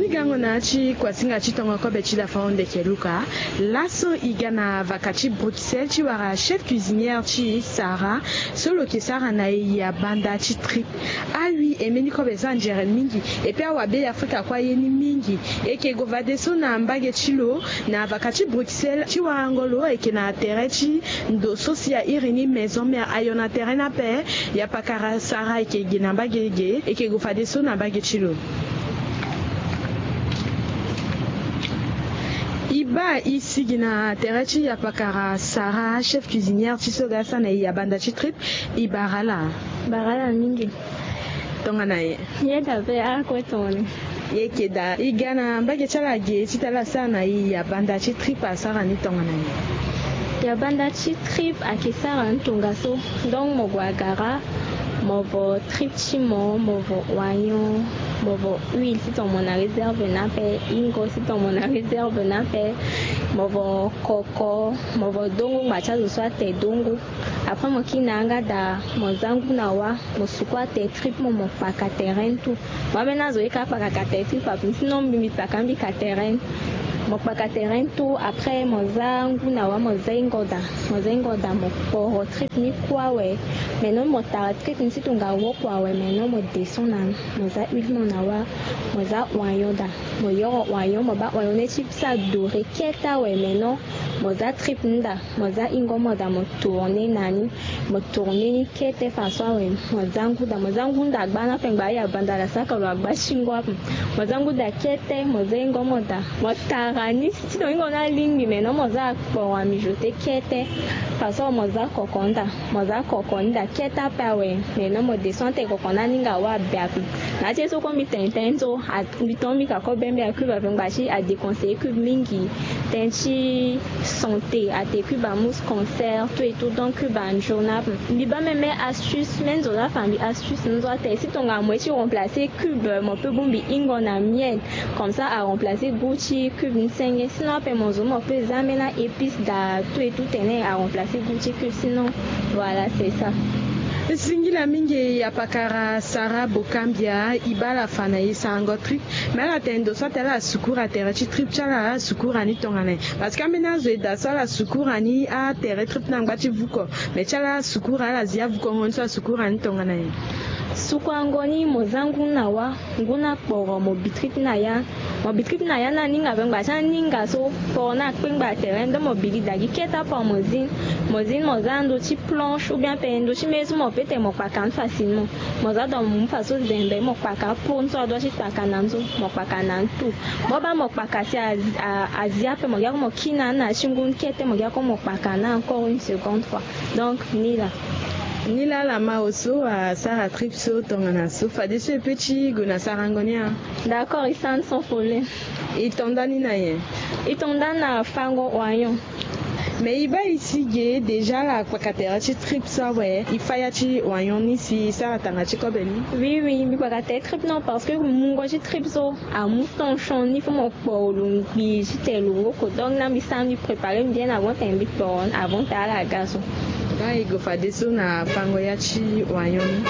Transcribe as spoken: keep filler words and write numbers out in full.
Gango na ti kuasinga ti tongo kobe ti lafango ndeke luka. Laso e ga na vaka ti Bruxelles ti wara chef cuisinière ti Sarah so lo yeke sara na e ya banda ti trip. Ah oui, e mbeni kobe so anzere mingi. Epui awabe ya afrika kue aye ni mingi. E yeke gue fadeso na mbage ti lo na vaka ti Bruxelles ti warango lo. E yeke na tere ti ndo so si a iri ni maison mère ayo na tere ni ape. Ya pakara Sarah e yeke gi na mbage ge, e yeke gue fadeso na mbage ti lo. E baa e sigi na tere ti ya pakara Sarah, chef cuisinière ti so ga asara na e ya banda ti trip. E bara ala? Bara ala mingi. Tongana nyen? Yeda pe ako tongana. Ye yeke daa. E ga na mbage ti ala ge ti tala asara na e ya banda ti trip asara ni tongana nyen? Ya banda ti trip ayeke sara ni tongaso. Donc mo gue agara, mo vo trip ti mo, mo vo oignon, mo vo huile si tongana mo na réserve ni ape, ingo si tongana mo na réserve ni ape, mo vo koko, mo vo dongo ngba ti azo so ate dongo. Après mo kiri na yanga daa, mo za ngu na wa, mo suku ate trip mo, mo kpaka terrain tout. Mo ambeni azo ye ka kpaka ka terrain trip ape, sinon mbi mbi kpaka mbi ka terrain. Mo kpaka terrain tout, après mo za ngu na wa, mo za ingo daa. Mo za ingo daa, mo kporo trip ni kue awe. Maintenant mo tara trip ni si tonga woko awe, maintenant mo descend na ni, mo za huile mo na wa, mo za oignon daa. Mo yoro oignon, mo baa oignon ni ti sa doré kete awe, maintenant mo za trip ni daa. Mo za ingo mo daa, mo tourner na ni. Mo tourner ni kete faso awe, mo za ngu daa. Mo za ngu daa gba ni ape ngba aya banda la saka lo agba ti ngu ape. Mo za ngu daa kete, mo za ingo mo daa. Mo tara ni si tongana ingo ni alingbi, maintenant mo za akporo a mijoter kete. Faso mo za koko ni daa. Mo za koko ni daa kete ape awe. Maintenant mo descend te koko ni aninga wa abe ape. Na ya ti ye so kue mbi tene tënë so, a mbi tonga mbi ka kobe mbi a cube ape ngba ti a déconseiller cube mingi. Tënë ti santé ate cube amousse cancer tout et tout, donc cube anzoni ape. Mbi baa même astuce, même nzoni afa mbi astuce ni nzoni ate si tongana mo ye ti remplacer cube, mo peut bongbi ingo na miel. Comme ça a remplacer goût ti cube ni senge. Sinon ape mo zo mo peut za ambeni a épice daa tout et tout tene a remplacer goût ti cube, sinon voilà c'est ça. Singila mingi ya pakara Sarah Bokambia. E baa ala fa na e sarango trip. Mais ala tene ndo so atene ala sukura tere ti trip ti ala, ala sukura ni tongana nyen? Parce que ambeni azo e daa so ala sukura ni atere trip ni angba ti vuko. Mais ti ala ala sukura, ala zi avukongo ni so asukura ni tongana nyen? Sukurango ni, mo za ngu na wa, ngu ni akporo, mo bi trip ni na ya. Mo bi trip ni na ya ni aninga ape ngba ti aninga so kporo ni akpengba tere, donc mo bi li daa gi kete ape mo zi ni. Mo zi ni mo za ndo ti planche ou bien pe ndo ti mê so mo peut tene mo kpaka ni facilement. Mo za daa mo mu faso zembe mo kpaka apo ni so adua ti kpaka na ni so, mo kpaka na ni tout. Mo baa mo kpaka si a, a, azi ape mo gi ako mo kiri na ni na ya ti ngu ni kete, mo gi ako mo kpaka na encore une seconde fois. Donc ni laa. Ni laa ala ma oso asara trip so tongana so, fadeso e peut ti gue na sarango ni a? D'accord, e sara ni sans problème. E to nda ni na nyen? E to nda ni na fango oignon. Mais e baa e si ge déjà ala kpaka tere ti trip so awe, e fa ya ti oignon ni si e sara tanga ti kobe ni? Oui oui, mbi kpaka tere trip non, parce que mungo ti trip so amu tension ni, faut mo kporo lo ngbii ti tene lo woko. Donc na mbi sara mbi préparer mbi bien avant tene mbi kporo ni avant tene ala ga so. Donc e gue fadeso na fango ya ti oignon ni.